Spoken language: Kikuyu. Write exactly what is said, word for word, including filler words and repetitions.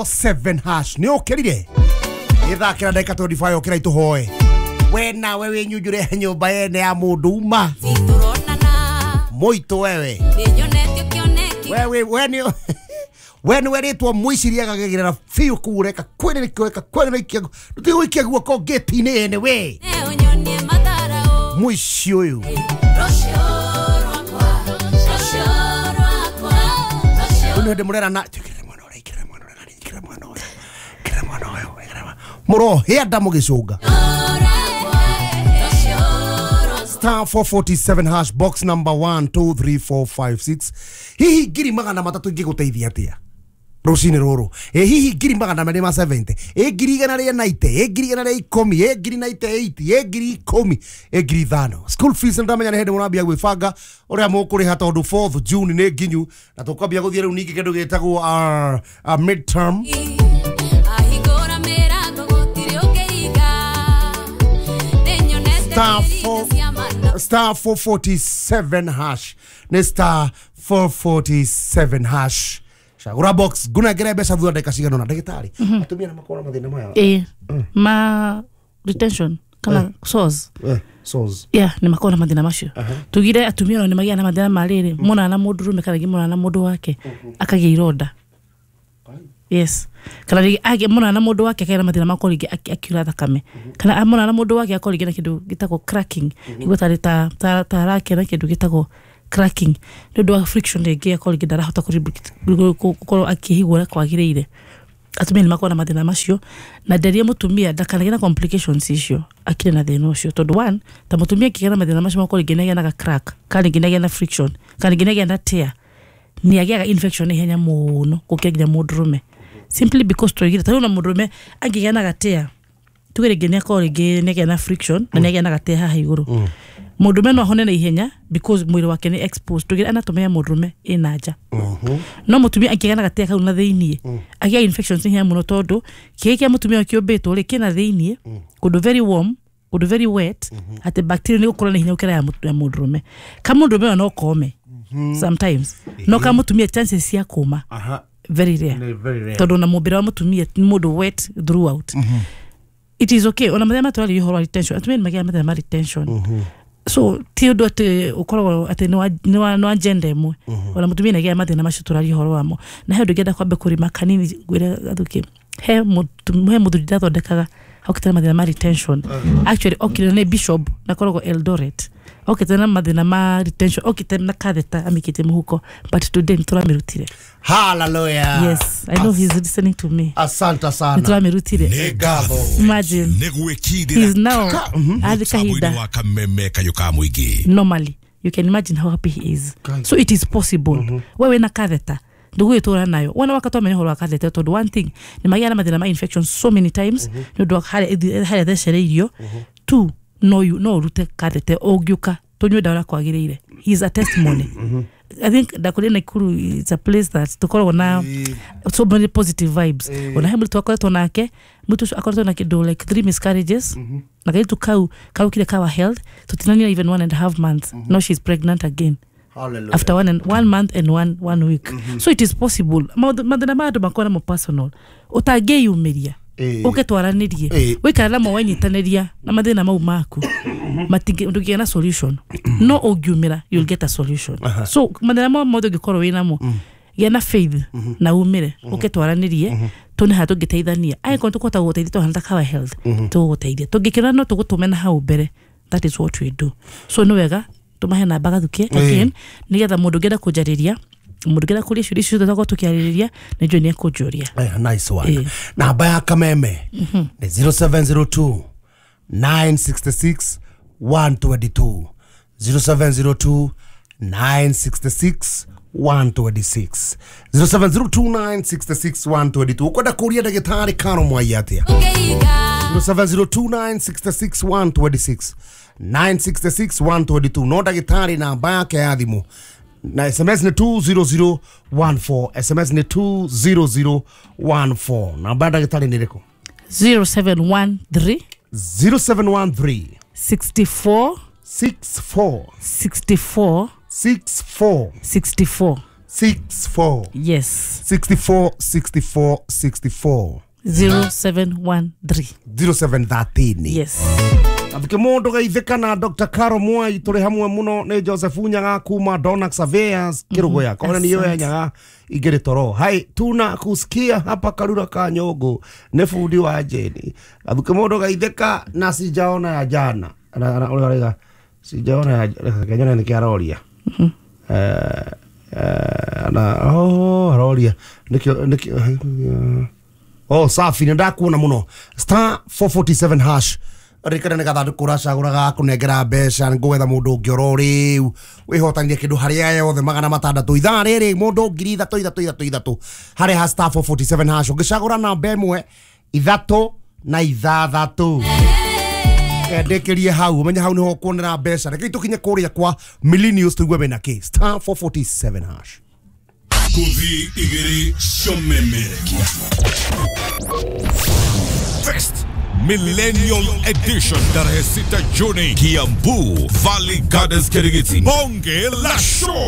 Seven hash nä å kä rire ithakira ndagika twenty-five å kä ra itå we nawe wä nyunjure nyå yene ya må ndå uma må wewe wewe we nä we nä werä two mwiciri agagä biå kuu reka kwä kwä ndå gå ikia guoko ngäti-inä ene we mũici ũyũ nä ndä må rera na mũrohĩa nda mũgĩcũnga star four forty-seven hash box number one two three four five six hihi ngiri magana matatũ ingĩgũteithia atĩa rũcinĩ rũrũ ĩ hihi ngiri magana merĩ ma seventy ĩ ngiri igana rĩa ninety ĩ ngiri igana rĩa ikũmi ĩ ngiri ninety-eight ĩ ngiri ikũmi ĩ ngiri ithano school fees ndamenya nĩ hĩndĩ mũrambia gwĩbanga ũrĩa mũkũrĩha tondũ fourth June nĩ nginyu na tũkwambia gũthiĩ rĩu ningĩ kĩndũ gĩtagwo uh, midterm. Star four, star four forty-seven hash ne star four forty-seven hash shagura box guna gere mbeca thutha ndagika cigana na ndagitari atumia na makora mathina maya eh ma retention kana sores eh sores yeah ni makora mathina macio tugire atumia ni magia na mathina ma riri mona na mundu rume kana mona na mundu wake akagia ironda. Yes. Kana rigi age mona na mundu wake akagĩa mathina ma rigi akiura thakame. Kana mona na mundu wake akorwo na kindu gitagwo cracking. Igwo tari ta ta tarake na kindu gitagwo cracking. Ni undu wa friction rigi akorwo rigi ndarahota gukorwo akihigura kwagiriire. Atumia ni makorwo na mathina macio na nderie mutumia ndakanagĩa na complications icio akire na thina ucio tondu one ta mutumia akigĩa na mathina macio makorwo rigi nĩagĩa na crack kana rigi nĩagĩa na friction kana rigi nĩagĩa na tear ni agĩaga infection ihenya muno gũkĩra nginya mũndũrũme simply because tuigire ta na mũndũrũme angĩgĩa na gatea tugire nginya akorwo rĩngĩ nĩagĩa na friction na nĩagĩa na gatea haha igũrũ mũndũrũme no ahone na ihenya because mwĩrĩ wake nĩ exposed tugire anatomy ya mũndũrũme ĩna nja no mũtumia angĩgĩa na gatea kau na thĩiniĩ agĩa infections ihenya mũno tondũ kĩĩ kĩa mũtumia kĩũmbĩtwo rĩ kĩna thĩiniĩ kũndũ very warm kũndũ very wet atĩ bacteria nĩ gũkũra na ihenya gũkĩra ya mũndũrũme ka mũndũrũme no kome sometimes no ka mutumia chances cia kuma very rare tondu na mubira wa mutumia ni mundu wet throughout. Mm -hmm. It is okay ona mathema twari uhoro wa retention atumia ni magia mathema retention. Mm -hmm. So ti undu ati ukoragwo ati ni wa no agenda imwe ona mutumia ni mathina macio turari uhoro wamo na he ndungenda kwambe kurima kanini ngwire gathuki he he muthuri ndathondekaga okite mathina ma retention. Actually okire ni bishop na koragwo Eldoret okite na mathina ma retention okite na catheter amikite muhuko but today nturamirutire. Hallelujah. Yes, I know he's listening to me. Asante sana. Nturamirutire. Imagine. He's now at kahinda. Normally, you can imagine how happy he is. So it is possible. Wewe na catheter ndugwitura nayo wana wakatwa menya horo akathete tondu one thing ni magia na mathina ma infection so many times ni undu haria thecereirio two no you no urute kathete ungiuka tunywe dawa kwagiriire. He is a testimony. I think ndakuri Nakuru is a place that tukoragwo na so many positive vibes. Ona he mutu akoretwo nake mutu akoretwo na kindu like three miscarriages na kaitu kau kau kile kawa health tutinania even one and a half months. Now she's pregnant again. Hallelujah. After one and one month and one one week. Mm -hmm. So it is possible. Mathina ma andu makona mo personal. Utangĩyumĩria. Uke twaranirie. Wikara namo wanyitaniria na mathina mau maku. Matingi ndũngĩgĩa na solution. No ũngiumĩra you'll get a solution. Uh -huh. So mathina mau mothe ũngĩkorwo wĩ namo gĩa na faith na umĩre uke twaranirie tune ha tũngĩteithania. Angĩkorwo tũkũhota gũgũteithia tũhana ta Kawa Health tũgũgũteithia. Tũngĩkĩra no tũgũtũme na hau mbere. That is what we do. So nĩ wega tumahe namba gathukie again nigetha mundu ngenda kunjariria mundu ngenda kuria ciũria icio ciothe tukiarĩrĩria nĩ njũĩ nĩ ekũnjũria. Nice one. Namba ya Kameme ni zero seven zero two nine six six one two two zero seven zero two nine six six one two six zero seven zero two nine six six one two two ukwenda kuria ndagĩtarĩ Karo Mwai atia zero seven zero two nine six six one two six nine six six one two two no ndagĩtarĩ namba yake ya thimũ na S M S ni two zero zero one four S M S ni two zero zero one four namba ya ndagĩtarĩ nĩ ĩrĩkũ? zero seven one three zero seven one three sixty-four sixty-four sixty-four sixty-four sixty-four six four. Yes. sixty-four sixty-four sixty-four. zero seven one three. zero seven thirteen. Yes. Athike mundu geithika na Doctor Caro Mwai turi hamwe muno ni Joseph Nyaga kuma Donax Surveyors Kirugoya kona ni yoya Nyaga ingiri toro hai tuna kusikia hapa Karura ka Nyongo ni fundi wa Jeni. Athike mundu geithika na sijaona ya jana na na uriga sijaona ya kanyona ni kiaroria eh eh na oh aroria nikio nikio oh safi ni ndakuona muno star four forty-seven hash rikana nä gathandå racagå ga kå nengera mbeca ngå getha må ndå å ngä oro rä u wä hotanirie kä ndå harä a yothe magana matandatå ithaa rä rä må ndå ngiri ithatå ithatå ithatå ithatå harä ha star four forty-seven hash å ngä cagå ra namba ä mwe ithatå na ithathatå ndä kä rie hau å menye hau nä ho kuonera mbeca rekei tå kinye kå rä a kwa Millennials tå igue mena kä star four forty-seven hash Kuthi igiri shomemerekia Fest Millennial Edition tarehe sita Juni, Kiambu Valley Gardens, Kirigiti. Bonge la show.